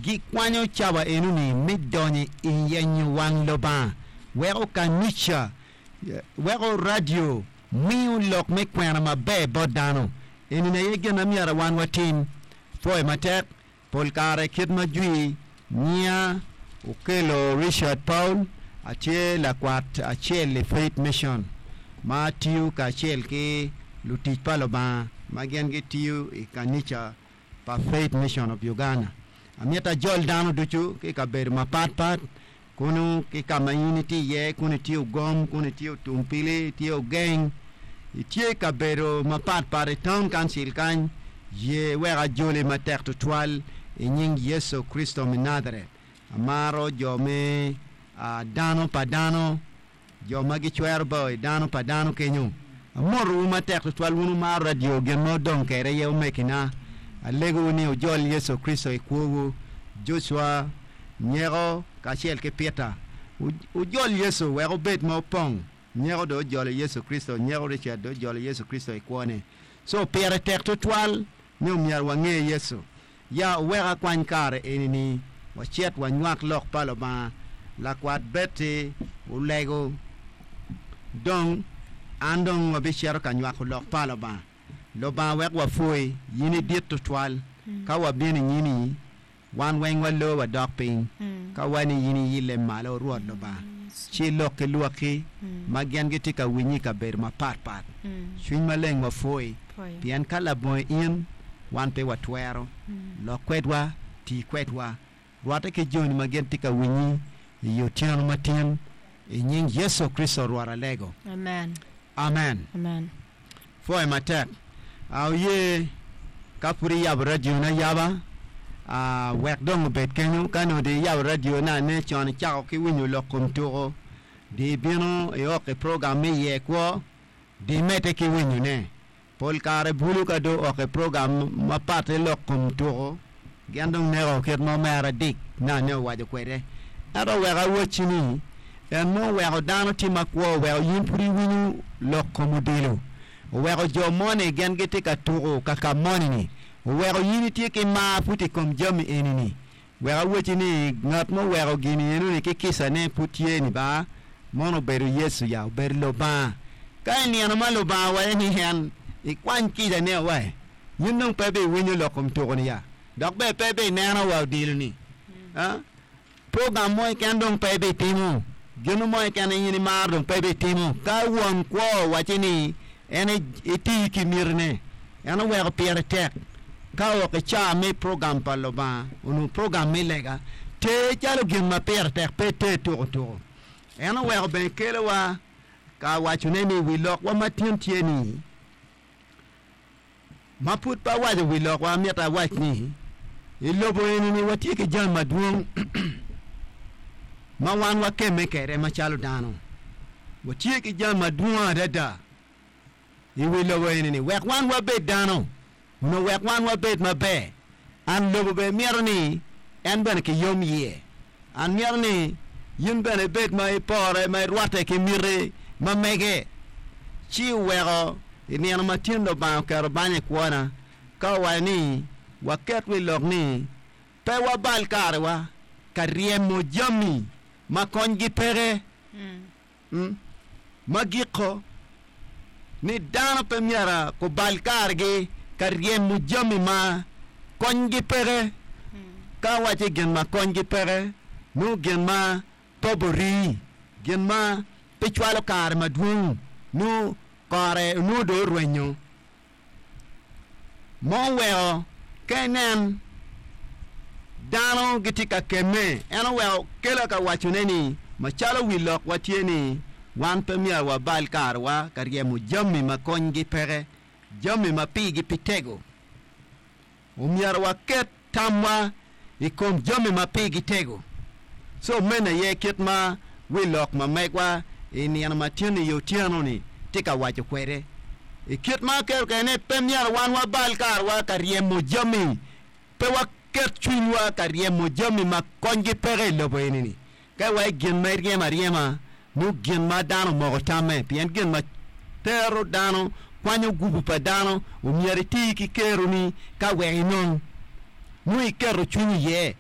Gikwanyo cawa enoni me donyo i yenyo wang Lubanga, weko kanica, weko radio miyo lok me kwena maber bot dano. Enini aye gin ma myero wan watim. Pwoyo matek, pol kare kit ma jwi nyiya okelo Richard Paul, atye lakwat acel i Faith Mission ma atiyo kacel ki lutic pa Lubanga ma gin gitiyo i kanica pa Faith Mission of Uganda. Amito ajol dano ducu ki i kabedo mapat pat, kunu ki ka ma in itye iye, kunu itye Ogom, kunu itye Otumpili, itye Ogeng, itye i kabedo mapat pat i Town Council kany, ye wek ajoli matek tutwal i nying Yecu Kricito me Najaret. Amaro jo me dano pa dano. Jo ma gicwero bao i dano pa dano kenyo. Amotowu matek twatwal wun wumaro radio gin ma wudong kwede aye omegina. Alegowu ni wujol Yecu Kricito i kwowu. Jocwa, Nyeko, kacel ki Peter. Wujol Yecu wek wubed ma wupong. Nyeko dong ojolo Yecu Kricito, Nyeko Richard dong ojolo Yecu Kricito i kwone. So pire tek twatwal ni omyero wange Yecu. Ya wuwek akwany kare eni-ni wacit wanywak lok pa Lubanga. Lakwat Betty olego, Dong, an dong wabicito ka nywako lok pa Lubanga. Lubanga wek wapwoyi, in idit twatwal. Ka wabino i nyimi, wan weng waloo wadok piny. Ka wa ni in iyille malo, Rwot Lubanga, ci ilok ki lwakki ma gin gitye ka winyi i kabedo mapatpat. Cwiny Maleng wapwoyi. Pien ka labongo in, wan pe watwero. Lok kwedwa, ti kwedwa. Rwatte ki joni ma gin tye ka winyi i otyeno matin, i nying Yecu Kricito Rwot alego. Amen. Amen. Amen. Pwoyo matek. A Oye, ka pud iyabo radioni ayaba, a wek dong obed kenyo. Ka nongo dong iyabo radioni ane con icako ki winyo lok kom tuko, dong ibino iok i program me iye kwo, Di medde ki winyone. Pol kare bulu ka dong ok i program mapatte lok kom tuko, gin dong neko kit ma omera Dick nane owaco kwede. Ento wek awacci ni, en mo oweko dano tye makwo oweko in pud iwinyo lok kom odilo, oweko jo moni gin gitye ka tuko kaka moni-ni, oweko in itye ki mar pud i kom jami eni-ni. Wek awacci ni, ngat ma oweko gin enoni ki kicane pud tye ni ba, mono obedo Yecu ya, obedo Lubanga. Ka i nino ma Lubanga owaco ni en ikwany kicane wa, in dong pe ibiwinyo lok kom tuko-ni ya, dok bene pe ibineno wa odilo-ni. Program mo keken dong pe ibitimo, gin mo keken ma in imaro dong pe ibitimo. Ka won kwo owacci ni en eti ki mitine, en oweko pire tek. Ka ok i caa me program pa Lubanga, onongo program me lega ter calo gin ma pire tek, pe ter tuko tuko. En oweko bene kelowa ka wacone ni wi lokwa ma tin tye ni, ma pud pe awaco wi lokwa, amito awac ni, i lobo eni-ni watye ki jami madwong ma wan wakemme kwede macalo dano. Watye ki jami madwong adada. I wi lobo eni-ni, wek wan wabed dano, onongo wek wan wabed maber. An lobo bene mito ni en bene kiyom iye. An mito ni in bene ibed ma ipore, ma irwatte ki miti ma mege. Ci oweko i nino ma tin Lubanga oketo banya i kwona, ka owaco ni waket wi lok ni pe wabal karewa ka ryemo jami ma konygi peke. Ma giko, ni dano pe myero gubal karegi ka ryemo jami ma konygi peke. Ka awaco gin ma konygi peke, nongo gin ma pe oborii, gin ma pe cwalo kare madwong, nongo kore onongo dong orwenyo. Ma oweko ka inen dano gitye ka kemme, en oweko kela ka wacone ni, Macalo wi lokwa tye ni, wan pe myero wabal karewa ka ryemo jami ma konygi peke, jami ma pigi pe tego. Omyero waket tamwa i kom jami ma pigi tego. Co meno aye kit ma wi lok ma megwa i nino ma tin-ni i otyeno-ni tye ka waco kwede. I kit ma aketo kwede ni pe myero wan wabal karewa ka ryemo jami, pe waket cwinywa ka ryemo jami ma konygi peke i lobo eni-ni. Ka iwaco gin ma iryemo aryema, nongo gin ma dano omoko tamme, pien gin ma tero dano, kwanyo gubu pa dano, omyero iti ki keroni ka wek inong. Nongo iketo cwinyi iye.